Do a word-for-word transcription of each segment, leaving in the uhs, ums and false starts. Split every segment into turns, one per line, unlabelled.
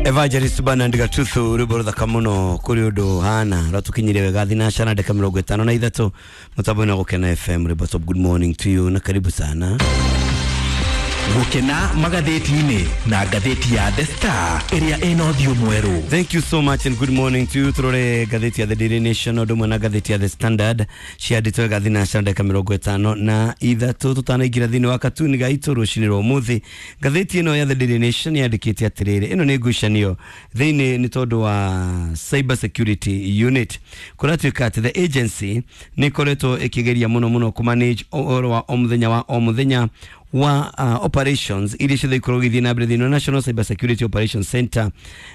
Evangelist Bernard Gatuthu rwimbo ruthaka muno kuri undu hana ratukinyire wega thinacana ndeka mirongo itano na ithatu mutambo-inĩ wa Gukena F M. Rwimbo top, good morning to you na karibu sana.
Gukena magatheti-inĩ na ngathĩti ya The Star ĩrĩa ĩna ũthiũ mwerũ.
Thank you so much and good morning to you. Turore ngathĩti ya The Daily Nation ũndũ ũmwe na ngathĩti ya The Standard ciandĩtwo wega thinacana ndeka mĩrongo ĩtano na ithatũ tũtanaingĩra thĩinĩ wa katuni gaitũ rũcinĩ rwa ũmũthĩ. Ngathĩti ĩno ya The Daily Nation yandĩkĩte atĩrĩrĩ, ĩno nĩ ngucanio thĩinĩ nĩ tondũ wa Cyber Security Unit. Kũratuĩka atĩ the agency nĩ ĩkoretwo ĩkĩgeria mũno mũno kũmanage ũhoro wa o mũthenya wa o mũthenya wa uh, operations iria ciothe ikoragwo igĩthiĩ na mbere thĩinĩ wa National Cyber Security Operations Center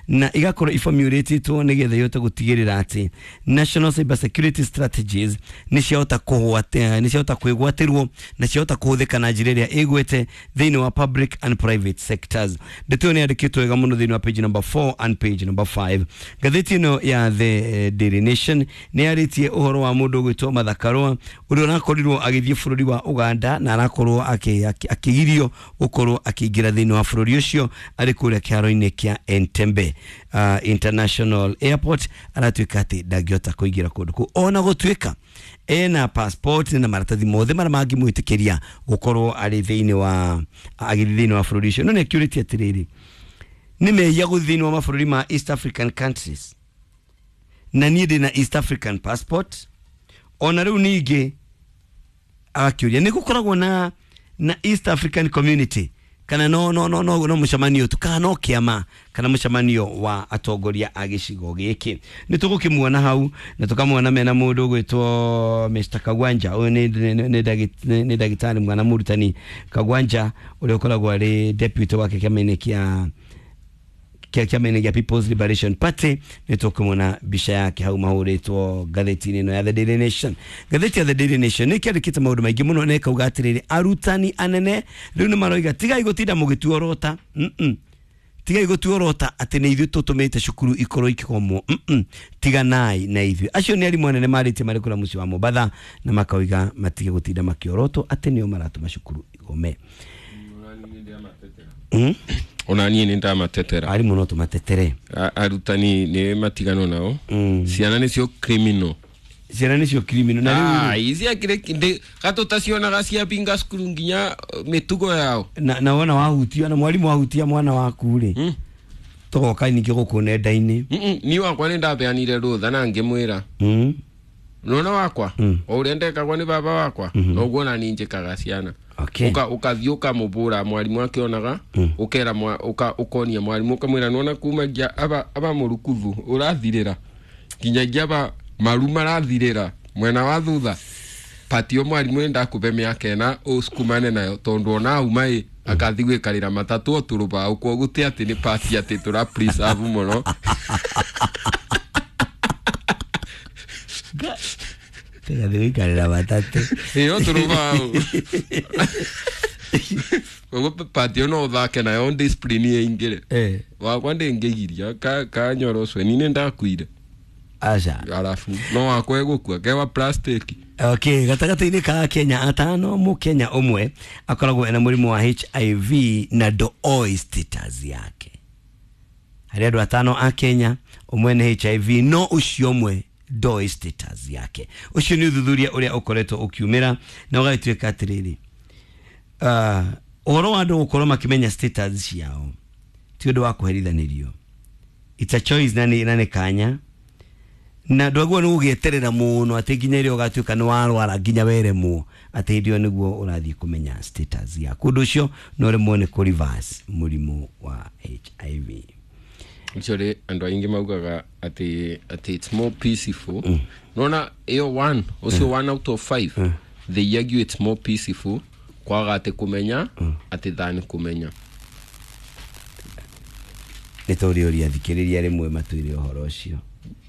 na igakorwo iformulatĩtwo nĩgetha ihote gũtigĩrĩra atĩ National Cyber Security Strategies nĩ ciahota kũgwate nĩ ciahota kwĩgwatĩrwo na ciahota kũhũthĩka na njĩra ĩrĩa ĩgwete thĩinĩ wa public and private sectors. Ndeto ĩyo nĩ yandĩkĩtwo wega mũno thĩinĩ wa page number four and page number five. Ngathĩti ĩno ya The Daily Nation nĩ yarĩtie ũhoro wa mũndũ ũgwĩtwo Martha Karua ũrĩa ũrakorirwo agĩthiĩ bũrũri wa Uganda na arakorwo akĩ akigirio gukorwo akiingira thiini wa bururi ucio ari kuria kiharoini kia Entebbe uh, International Airport. Aratuika ati ndangihota kuingira kundu kuu ona gutuika ena passport na maratathi mothe maria mangimwitikiria gukorwo ari thiini wa agithii thiini wa bururi ucio. No ni akiuritie atiriri, ni mehia guthii thiini wa mabururi ma East African countries na niĩ ndĩ na East African passport? Ona riu ningi agakiuria ni gukoragwo na na East African Community kana no no no no no mucemanio tu kana no kiama kana mucemanio wa atongoria a gicigo giki. Ni tugukimuona hau na tukamuona mena mundu gwitwo Mister Kagwanja. Uyu ni ni ndagitari mwana murutani Kagwanja uria ukoragwo ari deputy wake kiama-inĩ kia kia kiama-inĩ gĩa People's Liberation Party. Nĩ tũkũmona mbica yake hau mahũrĩtwo ngathĩti-inĩ ĩno ya The Daily Nation. Ngathĩti ya The Daily Nation nĩ kĩandĩkĩte maũndũ maingĩ mũno na ĩkauga atĩrĩrĩ, arutani anene rĩu nĩ maroiga tigai gũtinda mũgĩtuorota, mm tigai gũtuorota atĩ nĩ ithuĩ tũtũmĩte cukuru ikorwo ikĩgomwo, mm tiganai na ithuĩ. Acio nĩ arimũ anene marĩtie marĩ kũrĩa mũciĩ wa Mombatha na makauga matige gũtinda makĩorotwo atĩ nĩo maratũma cukuru igome. Mm?
Ona niĩ nĩ ndamatetera.
Arimũ no tũmatetere.
Arutani nĩ matigano nao.
Mm.
Ciana nĩcio criminal.
Ciana nĩcio criminal. Na rĩu
Ah, ici akĩrĩ ndĩ gatũtacionaga ciapinga cukuru nginya mĩtugo yao.
Na na wona wahutia na mwarimu wahutia mwana waku rĩ.
Mm.
Tũgoka ningĩ gũkũ nenda-inĩ.
Mm -mm. Niĩ wakwa nĩ ndabeanire rũtha na ngĩmwĩra.
Mm.
Nona wakwa
Mm.
o ũrĩa ndekagwo nĩ baba wakwa
Mm -hmm.
noguo na niĩ njĩkaga ciana.
Okay.
Uka ukathiĩ ũkamũbũra mwarimu akĩonaga
Mm.
ũkera mwa uka ukonia mwarimu ũkamwĩra nona kumagia aba aba mũrukuthu ũrathirĩra nginyagia aba maru marathirĩra mwena wa thutha patio mwarimu nĩ ndakũbe mĩaka ĩna ũsukumane nayo tondũ ona auma ĩ akathi gwĩkarĩra matatũ o tũrũbaũ kwoguo ti atĩ nĩ pati atĩ tũra preserve mũno.
Tiga gwĩkarĩra matatũ.
Ĩyo tũrũbaũ. Koguo patio no ũthake nayo discipline ĩingĩre.
Eh.
Wakwa ndĩngĩgiria ka kanyoro ũcio ni nĩ ndakuire.
Aca.
Arabu no wakwa egũkua kewa plastic.
Okay, gatagatĩ-inĩ ka Kenya atano mũkenya ũmwe akoragwo ena mũrimũ wa H I V na ndoĩ status yake. Harĩ andũ atano a Kenya ũmwe nĩ H I V no ũcio ũmwe ndoĩ status yake. Ũcio nĩ ũthuthuria ũrĩa ũkoretwo ũkiumĩra na ũgagĩtuĩka atĩrĩrĩ, uh, ũhoro wa andũ gũkorwo makĩmenya status ciao ti ũndũ wa kũherithanĩrio. It's a choice na nĩ na nĩ kanya na ndwaguo nĩ gũgĩeterera mũno atĩ nginya ĩrĩa ũgatuĩka nĩ warwara nginya weremwo atĩ hĩndĩ ĩyo nĩguo ũrathiĩ kũmenya status yaku. Ũndũ ũcio no ũremwo nĩ kũ reverse mũrimũ wa H I V.
Actually andũ aingĩ maugaga atĩ atĩ it's more peaceful. Mm. Nona ĩyo one ũcio mm. one out of five mm. they argue it's more peaceful kwaga atĩ kũmenya mm. atĩ than kũmenya.
Nĩ tũrĩũria thikĩrĩria rĩmwe matwĩre ũhoro ũcio.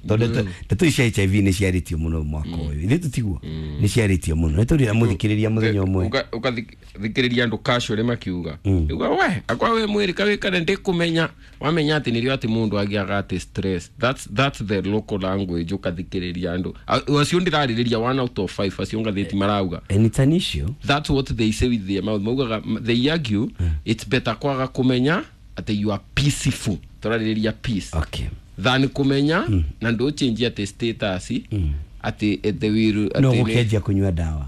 Tondũ ndeto ici cia H I V nĩ ciarĩtio mũno mwaka ũyũ. Ithuĩ tũtiguo nĩ ciarĩtio mũno. Nĩ tũrĩra mũthikĩrĩria mũthenya ũmwe.
Ũkathikĩrĩria andũ casually makiuga. Uga we akwa we mwĩrĩ kawĩkane ndĩkũmenya. Wamenya atĩ nĩrĩo atĩ mũndũ agĩaga atĩ stress. That's that's the local language ũkathikĩrĩria andũ. Acio ndĩrarĩrĩria one out of five acio ngathĩti marauga.
And it's an issue.
That's what they say with their mouth. Maugaga they argue it's better kwaga kũmenya atĩ you are peaceful Tũrarĩrĩria peace
Okay.
Than kũmenya na ndũchenjia atĩ status atĩ eh, the will
No
atĩ nĩ-
gũkĩanjia kũnyua ndawa.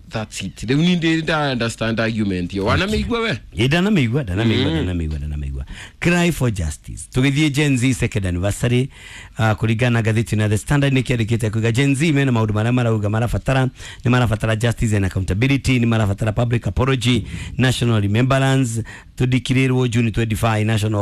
That's it. Rĩu ni ndĩ nda understand argument yo wanamĩigua we.
Ĩ, ndanamĩigua, ndanamĩigua, ndanamĩigua, ndanamĩigua. Cry for justice. Tũgĩthiĩ Gen Z second anniversary, uh, kũringana na ngathĩti na The Standard nĩ kĩandĩkĩte kuga Gen Z mena maũndũ marĩa marauga marabatara. Nĩ marabatara justice and accountability, nĩ marabatara public apology, national remembrance, tũdikirĩrwo June twenty-five national.